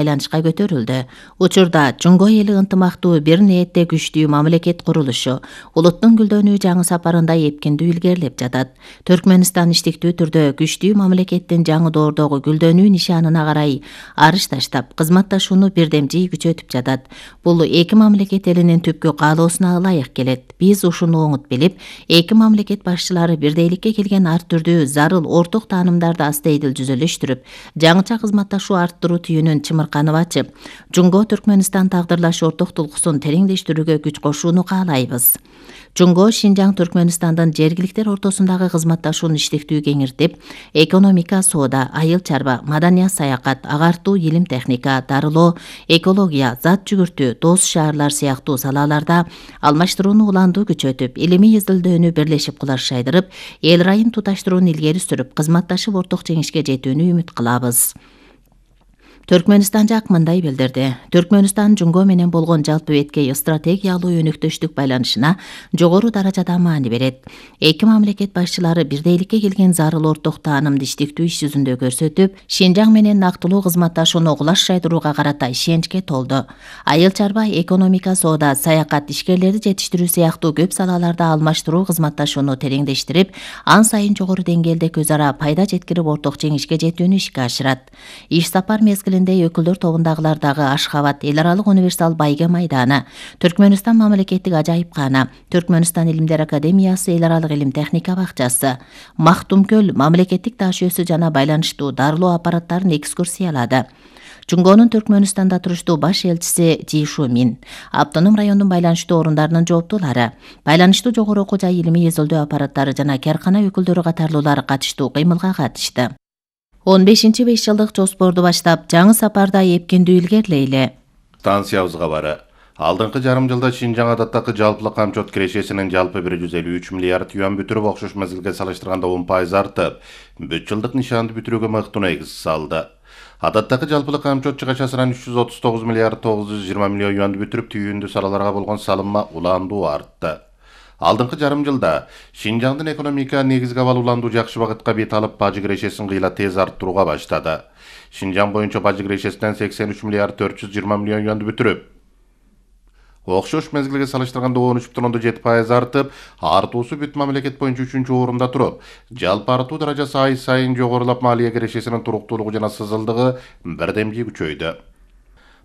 байланышка көтөрүлдү. Учурда Жунго эли ынтымактуу бир ниетте күчтүү мамлекет курулушу улуттун гүлдөнүү жаңы сапарында эпкиндүү илгерилеп жатат. Түркмөнстан иштиктүү түрдө күчтүү мамлекеттин жаңы доордогу гүлдөнүү нишанына карай арыш таштап, кызматташууну бирдемжий күчөтүп жатат. Бул эки мамлекет элинин түпкү каалоосуна ылайык келет. Биз ушуну оңут билип, эки мамлекет башчылары бирдейликке келген ар түрдүү зарыл орток таанымдарды астейдил жүзөлөштүрүп, жаңыча кызматташуу арттыруу түйүнүн чымырканып ачып, Жунго Түркмөнстан тагдырлаш орток тулкусун тереңдештирүүгө күч кошууну каалайбыз. Жунго Шинжаң Түркмөнстандын жергиликтер ортосундагы кызматташууну иштиктүү кеңиртип, экономика, соода, айыл чарба, маданият, саякат, агартуу, илим техника, дарылоо, экология, зат жүгүртүү, дос шаарлар сыяктуу салаларда алмаштырууну уландуу күчөтүп, илимий изилдөөнү бирлешип кулаш шайдырып, эл райын туташтырууну илгери сүрүп, кызматташып орток жеңишке жетүүнү үмүт кылабыз. Түркмөнстан жак мындай билдирди. Түркмөнстан Жунго менен болгон жалпы беткей стратегиялуу өнөктөштүк байланышына жогору даражада маани берет. Эки мамлекет башчылары бирдейликке келген зарыл орток таанымды иштиктүү иш жүзүндө көрсөтүп, Шинжаң менен нактылуу кызматташууну кулаш шайдырууга карата ишеничке толду. Айыл чарба, экономика, соода, саякат, ишкерлерди жетиштирүү сыяктуу көп салаларда алмаштыруу кызматташууну тереңдештирип, ан сайын жогору деңгээлде көз ара пайда жеткирип орток жеңишке жетүүнү ишке ашырат. Иш сапар мезгилинде өкүлдөр тобундагылардагы Ашхабад эл аралык универсал байге майданы, Түркмөнстан мамлекеттик ажайыпкана, Түркмөнстан илимдер академиясы, эл аралык илим техника бакчасы, Мактумкөл мамлекеттик таш өсү жана байланыштуу дарылоо аппараттарын экскурсиялады. Жунгонун Түркмөнстанда туруштуу баш элчиси Жи Шумин, автоном райондун байланыштуу орундарынын жооптуулары, байланыштуу жогору окуу жай илимий изилдөө аппараттары жана каркана өкүлдөрү катарлуулар катыштуу кыймылга катышты. 15 5 жылдык жоспорду баштап, жаңы сапарда эпкиндүү илгерилейли. Станциябыз кабары. Алдыңкы жарым жылда Шинжаң адаттагы жалпылык камчот кирешесинин жалпы 153 миллиард юан бүтүрүп, окшош мезгилге салыштырганда 10% артып, бүт жылдык нишанды бүтүрүүгө мыкты негиз салды. Адаттагы жалпылык камчот чыгачасынан 339 миллиард 920 миллион юанды бүтүрүп, түйүндүү салаларга болгон салымма уландуу артты. Алдыңкы жарым жылда Шинжаңдын экономика негизги абал уландуу жакшы багытка бет алып, бажы кирешесин кыйла тез арттырууга баштады. Шинжаң боюнча бажы кирешесинен 83 миллиард 420 миллион юанды бүтүрүп, окшош мезгилге салыштырганда 13,7% артып, артуусу бүт мамлекет боюнча 3-орунда туруп, жалпы артуу даражасы ай сайын жогорулап, малия кирешесинин туруктуулугу жана сызылдыгы бирдемжий күчөйдү.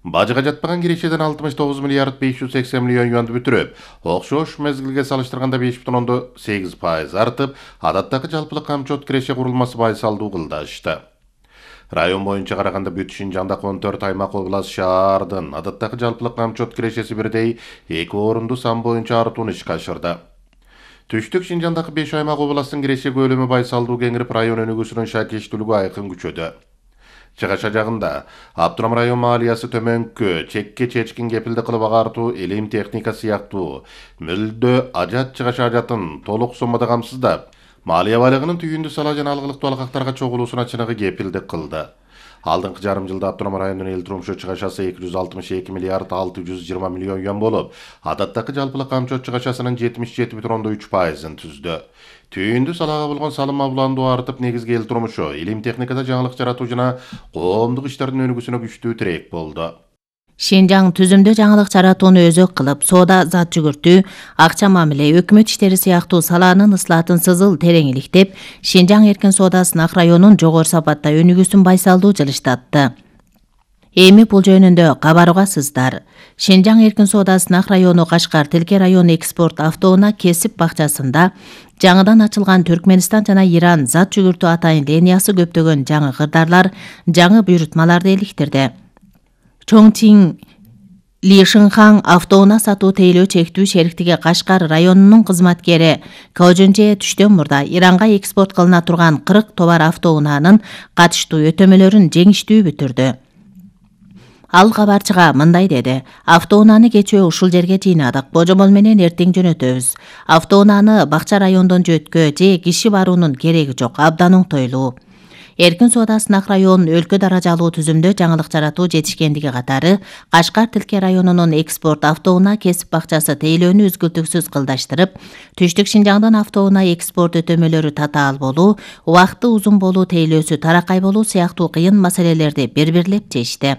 Бажыга жатпаган кирешеден 69 миллиард 580 миллион юанды бүтүрүп, окшош мезгилге салыштырганда 5,8% артып, адаттагы жалпылык камчот киреше курулмасы байсалдуу кылдашты. Район боюнча караганда бүт Шинжаңда 14 аймак, област, шаардын адаттагы жалпылык камчот кирешеси бирдей 2 орунду сан боюнча артууну ишке ашырды. Түштүк Шинжаңдагы 5 аймак, областтын киреше көлөмү байсалдуу кеңирип, район өнүгүүсүнүн шакештүүлүгү айкын күчөдү. Чыгаша жагында Аптурам район маалиясы төмөнкү, чекке чечкин кепилди кылып агартуу, илим техника сыяктуу мүлдө ажат чыгаша ажатын толук соммада камсыздап, малия байлыгынын түйүндүү сала жана алгылыктуу алкактарга чогулуусуна чыныгы кепилдик кылды. Алдыңкы жарым жылда Аптурам районунун эл турмушу чыгашасы 262 миллиард 620 миллион юан болуп, адаттагы жалпылык камчот чыгашасынын 77,3%-ын түздү. Түйүндүү салага болгон салым уландуу артып, негизги эл турмушу, илим техникада жаңылык жаратуу жана коомдук иштердин өнүгүүсүнө күчтүү тирек болду. Шинжаң түзүмдө жаңылык жаратууну өзөк кылып, соода, зат жүгүртүү, акча мамиле, өкмөт иштери сыяктуу саланын ыслаатын сызыл терең иликтеп, Шинжаң эркин соода сынак районун жогору сапатта өнүгүүсүн байсалдуу жылыштатты. Эми бул жөнүндө кабарыгасыздар. Шинжаң эркин соода сынак району Кашкар Тилке район экспорт автоунаа кесип бакчасында жаңыдан ачылган Түркмөнстан жана Иран зат жүгүртүү атайын линиясы көптөгөн жаңы кырдаарлар, жаңы буйрутмаларды иликтирди. Чоңтиң Лишинхан автоунаа сатуу тейлөө чектүү шериктиги Кашкар районунун кызматкери Кожунже түштөн мурда Иранга экспорт кылына турган 40 товар автоунаанын катыштуу өтөмөлөрүн жеңиштүү бүтүрдү. Ал кабарчыга мындай деди: автоунааны кечээ ушул жерге жыйнадык, божомол менен эртең жөнөтөбүз. Автоунааны бакча райондон жөткө же киши баруунун кереги жок, абдан оңтойлуу. Эркин соода сынак район өлкө даражалуу түзүмдө жаңылык жаратуу жетишкендиги катары Кашкар Тилке районунун экспорт автоунаа кесип бакчасы тейлөөнү үзгүлтүксүз кылдаштырып, Түштүк Шинжаңдын автоунаа экспорт өтөмөлөрү татаал болуу, убакыты узун болуу тейлөөсү таракай болуу сыяктуу кыйын маселелерди бир-бирлеп чечти.